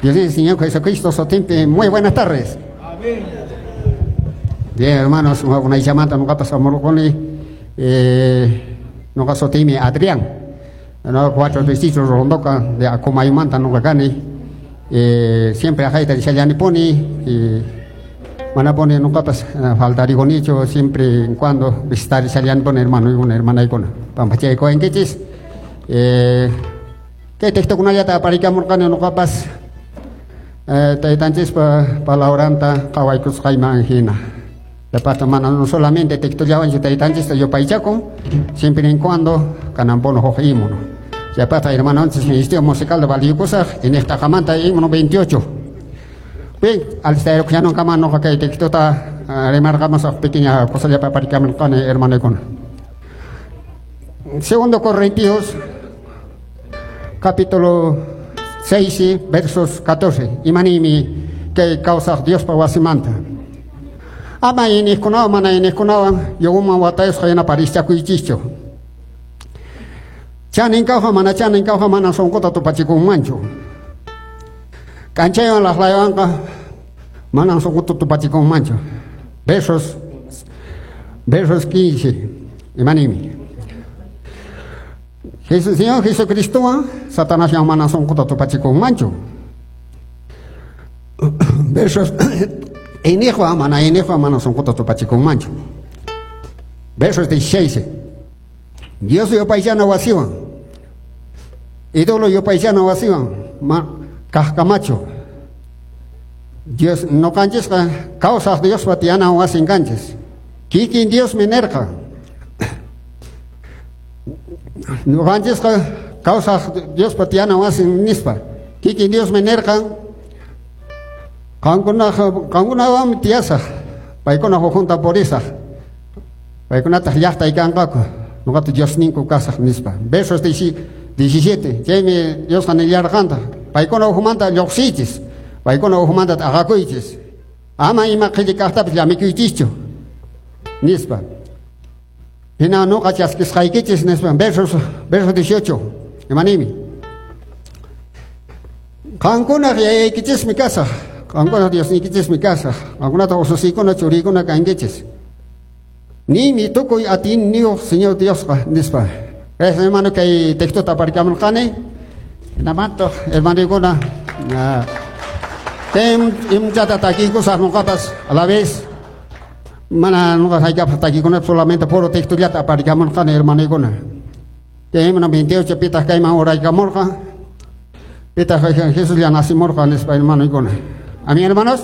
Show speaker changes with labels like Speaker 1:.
Speaker 1: Dios el Señor Jesucristo sutinpi, muy buenas tardes.
Speaker 2: Amén.
Speaker 1: Bien, hermanos, unaychamanta nuqapas hamurquni, nuqa sutiymi Adrián. No, cuatro distritos Rondoca de Acomaymanta nuqa kani. Siempre aqayta rishallanipuni, manapuni nuqapas faltarikunichu, siempre en cuando visitar rishallanipuni hermanoykuna, hermanaykuna. Pampachaykuwankichis. Kay textokunallata aparikamurqani nuqapas taytanchispa palabranta qhawaykusqayman hina. Chaypaqta mana no solamente textollawanchu taytanchista yupaychakun, siempre en cuando kananpuni huk himno. Chaypaqta hermanonchis Ministerio Musical de valiyukusaq, iñiq t'aqamanta himno 28. Bien, alistayrukunankama nuqa kay textota rimarqamusaq, pequeña cosallapa aparikamurqani, hermanoykuna. Segundo Corintios capítulo 6, versos 14. Imanimi kay kawsaq Diospa wasimanta. Ama iñiqkunawan mana iñiqkunawan yuguman watayusqa yanaparischakuychischu. Chanin kawqa mana chanin kawqa mana sunquta tupachikunmanchu. K'anchaywan laqlaywanqa mana sunquta tupachikunmanchu. Versos 15. Imanimi. Jesús, Señor Jesucristowan Satanaswan mana sunquta tupachikunmanchu. Versos iñiqwan mana iñiqwan mana sunquta tupachikunmanchu. Versos 16. Dios yupaychana wasiwan, ídolo yupaychana wasiwan ma kaqkamachu. Dios nuqanchisqa kawsaq Diospa tiyana wasin kanchis. Kikin Diosmi nirqa. Nuqanchisqa kawsaq Diospa tiyana wasin nispa. Kikin Diosmi nirqa, qankunawanmi tiyasaq, paykuna ukhunta purisaq. Paykunataq llaqtay kanqaku, nuqata Diosninku kasaq nispa. Versos 17. Chaymi Diosqa nillarqantaq, paykuna ukhumanta lluqsiychis, paykuna ukhumanta t'aqakuychis. Ama ima qhilli kaqtapis llamikuychischu nispa. Hina nuqa chaskisqaykichis nispa. Verso 18. Imanimi. Qankunaq yayaykichismi kasaq, qankunaq Diosniykichismi kasaq, qankunataq ususiykuna churiykuna kankichis. Nimi tukuy atiyniyuq Señor Diosqa nispa. Gracias, hermano, kay textota aparikamurqani. Hinamantaq, hermanoykuna, tem imchata takiykusaq nuqapas a la vez. Mana nuqa hayk'apaq takikunapaq solamente puro textollata aparikamurqani, hermanoykuna. Kay himno 28, pitaq kayman uraykamurqa. Pitaq Jesús ya nacimurqa nispa, hermanoykuna. Amén, hermanos.